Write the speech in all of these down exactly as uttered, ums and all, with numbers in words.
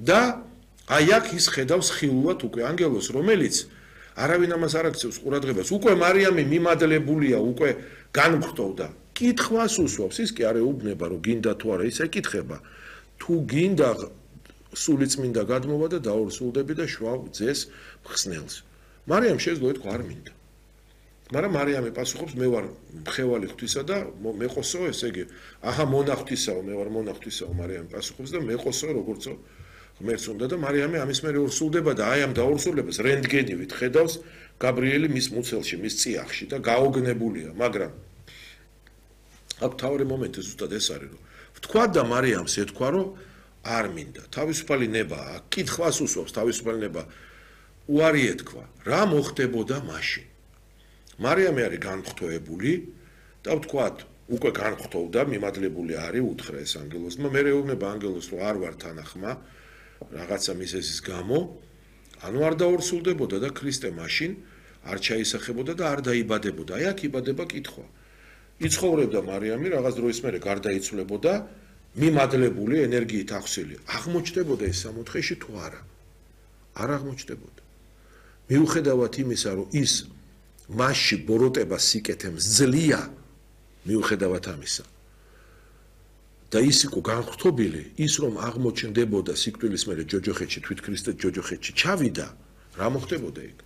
და აი აქ ის ხედავს ხილულად უკვე ანგელოს, რომელიც არავინ ამას არ აქცევს ყურადღებას. უკვე მარიამი მიმადლებულია, უკვე განმხრთოვდა. კითხვას უსვავს, ის კი არ ეუბნება, რომ გინდა თუ არა, ის ეკითხება. თუ გინდა სულიწმინდა გადმოვა და დაორსულდები და შევავ ძეს მხსნელს. მარიამ შეძლო ეთქვა არ მინდა. მაგრამ მარიამი პასუხობს, მე ვარ მხევალი ღვთისა და მე ყოსო, ესე იგი, აჰა მონახთისაო, მე ვარ მონახთისაო, მარიამი პასუხობს და მე ყოსო, როგორცო ღმერთს უნდა და მარიამი ამის მერე ორსულდება და აი ამ დაორსულებას რენტგენივით ხედავს გაბრიელი მის მუცელში, მის წიაღში და გაოგნებულია, მაგრამ აქ თავი მომენტი ზუსტად ეს არის, რომ ვთქვა და მარიამს ეთქვა, რომ არ მინდა. თავისუფალი ნება, კითხვას უსვავს, თავისუფალი ნება უარი ეთქვა. რა მოხდებოდა მაშინ? მარიამი არის განმხრთოვებული და ვთქვათ, უკვე განმხრთოვდა, მიმადლებული არის, უთხრა ეს ანგელოსმა, მე ეუბნება ანგელოს, რომ არ ვარ თანახმა, რაღაცა მიზეზის გამო, ანუ არ დაორსულდებოდა და ქრისტე მაშინ არ ჩაისახებოდა და არ დაიბადებოდა. აი აქ იბადება კითხვა. იცხოვრებდა მარიამი, რაღაც დროის მერე გარდაიცვლებოდა, მიმადლებული ენერგიით ახსილი. აღმოჩნდებოდა ეს სამოთხეში თუ არა? არ აღმოჩნდებოდა. მიუხედავად იმისა, რომ ის მასში ბოროტება სიკეთემ ძლია, მიუხედავად ამისა. და ის იყო განხრთობილი, ის რომ აღმოჩნდებოდა სიკვდილის მერე ჯოჯოხეთში, თვით ქრისტე ჯოჯოხეთში ჩავიდა, რა მოხდებოდა იქ?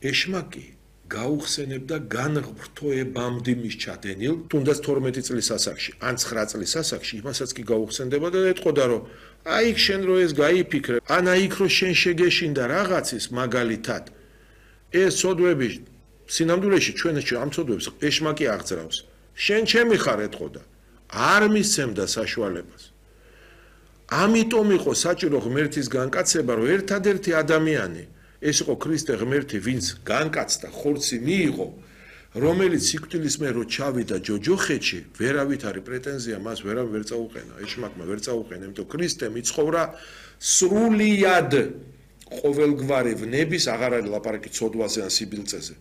ეშმაკი გაუხსენებდა განღრთოებამდე მის ჩადენილ, თუნდაც თორმეტი წლის ასაკში, ან ცხრა წლის ასაკში, იმასაც კი გაუხსენდებოდა და ეთყოდა, რომ აი იქ შენ რო ეს გაიფიქრე, ან აი იქ რო შენ შეგეშინდა რაღაცის მაგალითად, ეს ცოდვები სინამდვილეში ჩვენ ამ ცოდვებს ეშმაკი აღძრავს. შენ ჩემი ხარ ეთყოდა. არ მისცემდა საშუალებას. ამიტომ იყო საჭირო ღმერთის განკაცება, რომ ერთადერთი ადამიანი ეს იყო ქრისტე ღმერთი, ვინც განკაცდა, ხორცი მიიღო, რომელიც სიკვდილის მერე რო ჩავიდა ჯოჯოხეთში, ვერავით არის პრეტენზია მას ვერავინ ვერ წაუყენა, ეშმაკმა ვერ წაუყენა, იმიტომ ქრისტემ იცხოვრა სრულიად ყოველგვარი ვნების, აღარ არის ლაპარაკი ცოდვაზე ან სიბილწეზე.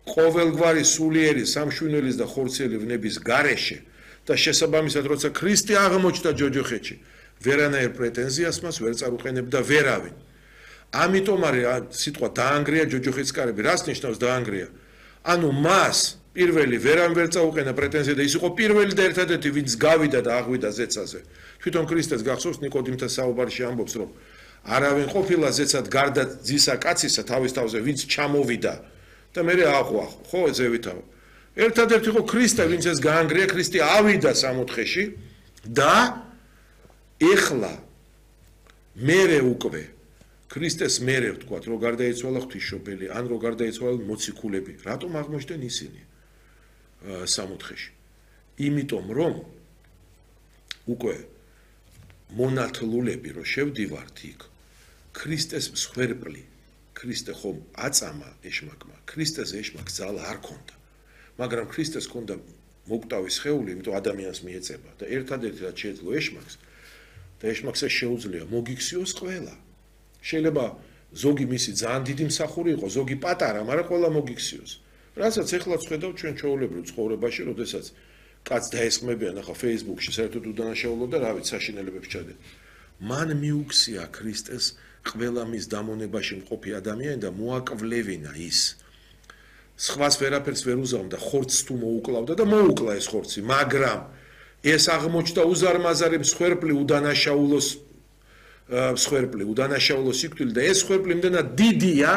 ყოველგვარი სულიერი სამშვინელის და ხორციელი ვნების გარეშე და შესაბამისად როცა ქრისტე აღმოჩნდა ჯოჯოხეთში, ვერანაირ პრეტენზიას მას ვერ წაუყენებდა ვერავინ. ამიტომ არის სიტყვა დაანგრია ჯოჯოხეთის კარები, რას ნიშნავს დაანგრია? ანუ მას პირველი ვერამ ვერ წაუყენა პრეტენზია და ის იყო პირველი და ერთადერთი, ვინც გავიდა და აღვიდა ზეცაზე. თვითონ ქრისტეს გახსოვს ნიკოდიმთან საუბარში ამბობს, რომ არავინ ყოფილა ზეცად გარდა ძისა კაცისა თავის თავზე, ვინც ჩამოვიდა და მე აღვახ, ხო ზევითაო. ერთადერთი იყო ქრისტე, ვინც ეს გაანგრია, ქრისტე ავიდა სამოთხეში და ეხლა მერე უკვე ქრისტეს მერე ვთქვათ, რომ გარდაიცვალა ღვთისმშობელი, ან რომ გარდაიცვალა მოციქულები, რატომ აღმოჩნდნენ ისინი სამოთხეში? იმიტომ რომ უკვე მონათლულები რო შევდივართ იქ, ქრისტეს მსხვერპლი, ქრისტე ხომ აწამა ეშმაკმა, ქრისტეს ეშმაკს ძალა არ ქონდა, მაგრამ ქრისტეს ქონდა მოკვდავი სხეული, იმიტომ ადამიანს მიეწება და ერთადერთი რაც შეეძლო ეშმაკს და ეშმაკს შეუძლია მოგიქციოს ყველა. შეიძლება ზოგი მისი ძალიან დიდი მსახური იყო, ზოგი პატარა, მაგრამ ყველა მოგიქციოს. რასაც ეხლა ვხედავ ჩვენ ჩვეულებრივ ცხოვრებაში, როდესაც კაც დაესხმებიან ახლა Facebook-ში საერთოდ უდანაშაულო და რა ვიცი საშინელებებს ჩადენ. მან მიუქცია ქრისტეს ყველა მის დამონებაში მყოფი ადამიანი და მოაკვლევინა ის. სხვას ვერაფერს ვერ უზამდა, ხორცს თუ მოუკლავდა და მოუკლა ეს ხორცი, მაგრამ ეს აღმოჩნდა უზარმაზარი მსხვერპლი უდანაშაულოს მსხვერპლი, უდანაშაულო სიკვდილი და ეს მსხვერპლი იმდენად დიდია,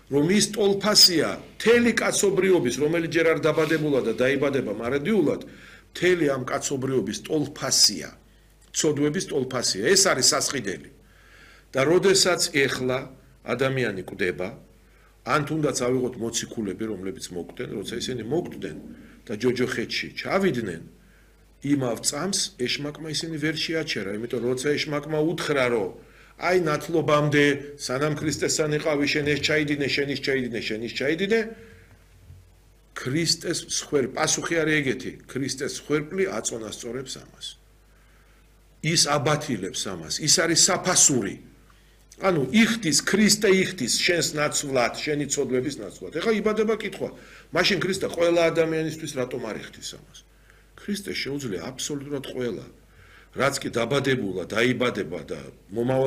რომ ის ტოლფასია მთელი კაცობრიობის, რომელიც ჯერ არ დაბადებულა და დაიბადება მარადიულად, მთელი ამ კაცობრიობის ტოლფასია, ცოდვების ტოლფასია, ეს არის სასყიდელი. და როდესაც ეხლა ადამიანი კვდება, ან თუნდაც ავიღოთ მოციქულები, რომლებიც მოკვდნენ, როცა ისინი მოკვდნენ და ჯოჯოხეთში ჩავიდნენ, იმავ წამს ეშმაკმა ისინი ვერ შეაჩერა, იმიტომ როცა ეშმაკმა უთხრა, რომ აი ნათლობამდე სანამ ქრისტესთან იყავი, შენ ეს ჩაიდინე, შენ ის ჩაიდინე, შენ ის ჩაიდინე, ქრისტეს მსხვერპლი, პასუხი არის ეგეთი, ქრისტეს მსხვერპლი აწონასწორებს ამას. ის აბათილებს ამას, ის არის საფასური. ანუ იხდის ქრისტე იხდის შენს ნაცვლად, შენი ცოდვების ნაცვლად. ეხლა იბადება კითხვა, მაშინ ქრისტე ყველა ადამიანისთვის რატომ არ იხდის ამას? ქრისტე შეუძლია აბსოლუტურად ყველა, რაც კი დაბადებულა, დაიბადება და მომავალ